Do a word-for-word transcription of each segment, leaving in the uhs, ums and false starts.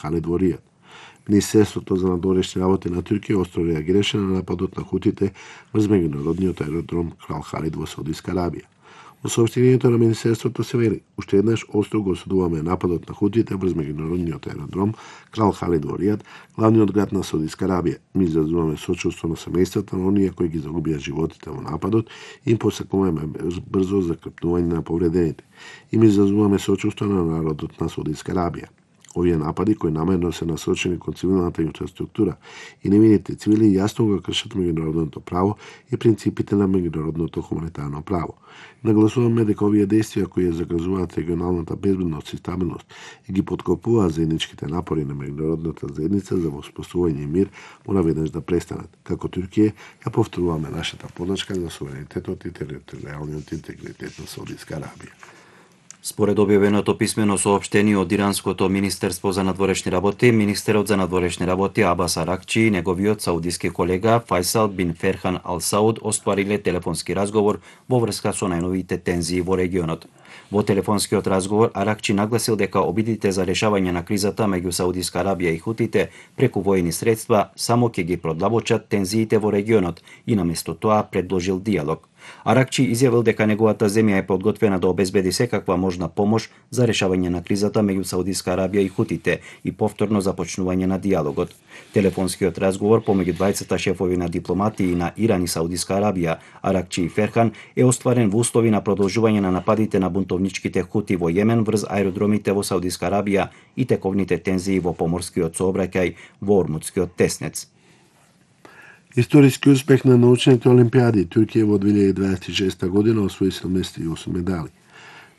Халид во Ријад. Министерството за надворешни работи на Туркија остро реагираше на нападот на хутите врз меѓународниот аеродром Крал Халид во Саудиска Арабија. Во соопштението на Министерството се вели: уште еднаш остро го осудуваме нападот на хутите врз меѓународниот аеродром Крал Халид во Ријад, главниот град на Саудиска Арабија. Ми изразуваме сочувство на семејствата на оние кои ги загубија животите во нападот и им посакуваме брзо закрпнување на повредените. И ми изразуваме сочувство на народот на Саудиска Арабија. Овие напади кои намерно се насочени кон цивилната инфраструктура и невините цивили јасно го кршат меѓународното право и принципите на меѓународното хуманитарно право. Нагласуваме дека овие действија кои ја загрозуваат регионалната безбедност и стабилност и ги поткопуваат заедничките напори на меѓународната заедница за воспоставување и мир мора веднаш да престанат. Како Туркија ја повторуваме нашата поддршка за суверенитетот и територијалниот интегритет на Саудиска Арабија. Според објавеното писмено соопштение од Иранското министерство за надворешни работи, министерот за надворешни работи Абас Аракчи и неговиот саудиски колега Фајсал бин Ферхан Ал Сауд оствариле телефонски разговор во врска со најновите тензии во регионот. Во телефонскиот разговор Аракчи нагласил дека обидите за решавање на кризата меѓу Саудиска Арабија и хутите преку воени средства само ќе ги продлабочат тензиите во регионот и наместо тоа предложил диалог. Аракчи изјавил дека неговата земја е подготвена да обезбеди секаква можна помош за решавање на кризата меѓу Саудиска Арабија и хутите и повторно започнување на диалогот. Телефонскиот разговор помеѓу двајцата шефови на дипломатии на Иран и Саудиска Арабија, Аракчи и Ферхан, е остварен во услови на продолжување на нападите на бунтовничките хути во Јемен врз аеродромите во Саудиска Арабија и тековните тензии во поморскиот сообраќај во Ормудскиот теснец. Историски успех на научните олимпијади. Туркија во две илјади дваесет и шеста година освои седумдесет и осум медали.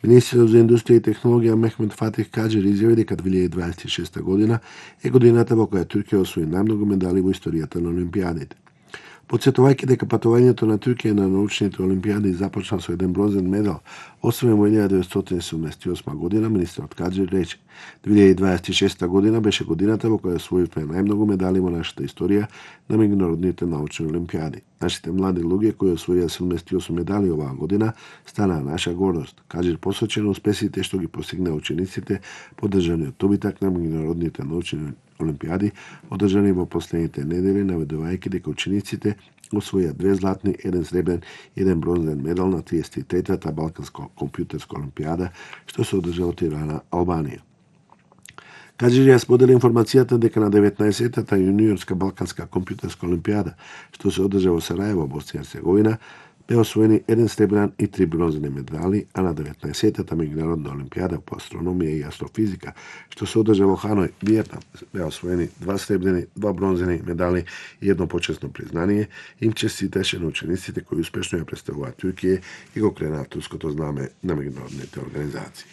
Министерот за индустрија и технологија Мехмет Фатих Каџер изјави дека две илјади дваесет и шеста година е годината во која Туркија освои најмногу медали во историјата на олимпијадите. Потсетувајќи дека патувањето на Туркија на научните олимпијади започна со еден бронзен медал, освоен во илјада деветстотини седумдесет и осма година, министерот Каџер рече: две илјади дваесет и шеста година беше годината во која освоивме најмногу медали во нашата историја на меѓународните научни олимпијади. Нашите млади луѓе кои освоија седумдесет и осум медали оваа година станаа наша гордост. Каџер посочи на успесите што ги постигнаа учениците поддржани од добитак на меѓународните научни олимпијади, одржани во последните недели, наведувајќи дека учениците освоија две златни, еден сребрен и еден бронзен медал на триесет и третата Балканска компјутерска олимпијада, што се одржа од Тирана, Албанија. Каџер ја сподели информацијата дека на деветнаесеттата јуниорска Балканска компјутерска олимпијада, што се одржа во Сараево, Босна и Херцеговина, бе освоени еден сребрен и три бронзени медали, а на деветнаесеттата меѓународна олимпијада по астрономија и астрофизика, што се одржа во Ханој, Виетнам, беа освоени два сребрени, два бронзени медали и едно почесно признание. Им честиташе на учениците кои успешно ја представуваат Туркија и го кренаа турското знаме на меѓународните организации.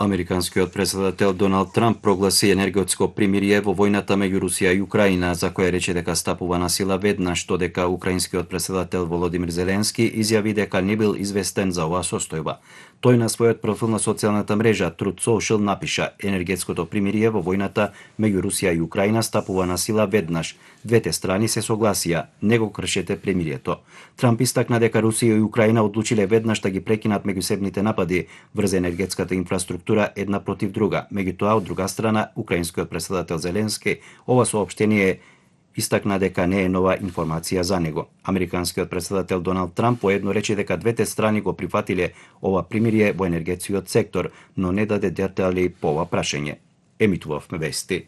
Американскиот претседател Доналд Трамп прогласи енергетско примирие во војната меѓу Русија и Украина, за која рече дека стапува на сила веднаш, додека украинскиот претседател Володимир Зеленски изјави дека не бил известен за оваа состојба. Тој на својот профил на социјалната мрежа Truth Social напиша: енергетското примирие во војната меѓу Русија и Украина стапува на сила веднаш. Двете страни се согласија, не го кршете примирието. Трамп истакна дека Русија и Украина одлучиле веднаш да ги прекинат меѓусебните напади врз енергетската инфраструктура една против друга. Меѓутоа, од друга страна, украинскиот претседател Зеленски ова соопштение истакна дека не е нова информација за него. Американскиот претседател Доналд Трамп поедно рече дека двете страни го прифатиле ова примирие во енергетскиот сектор, но не даде детали по ова прашање. Емитувавме вести.